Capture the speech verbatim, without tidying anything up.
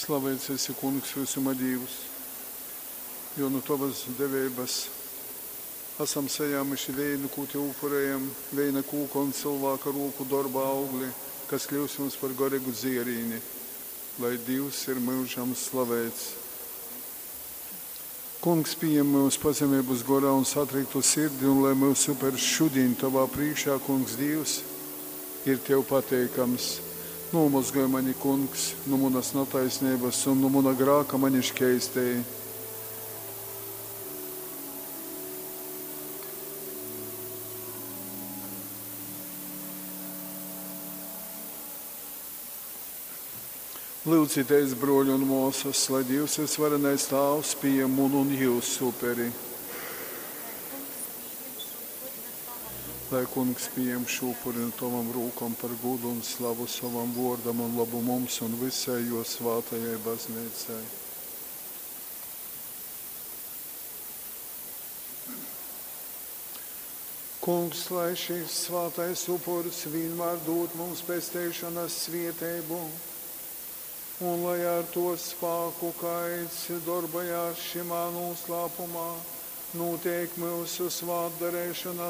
Slaveits esi, Kungs, vysuma Dīvs, jo nu tovas deveibas asam sajāmuši veinu, kū tev upurējam, veina kūka un cylvāka rūku dorba augli, kas kļyus mums par goreigu dzierīni. Lai Dīvs ir myužam slaveits. Kungs, pījem myus pazemeibas gorā un satriktu sirdi, un lai myusu upers šudiņ tovā prīškā, Kungs Dīvs, ir tev pateikams. Nūmozgoj mani, Kungs, nu munas nataisneibas un nu muna grāka mani škeistej. Lūdzieties, bruoļi un māsas, lai Dievs visvarenais Tāvs pieņem munu un jūsu uperi. Lai Kungs pieņem šo upuri no Lai Kungs pieņem šo upuri no tavam rūkom par gūdu un slavu savam vōrdam un labu mums un visai jo svātajai baznīcai. Kungs, lai šis svātais upurs vienmēr dod mums pesteišanas svieteibu, un lai ar to spāku, kaids darbojās šimā noslēpumā, notiek mūsu svātdarēšana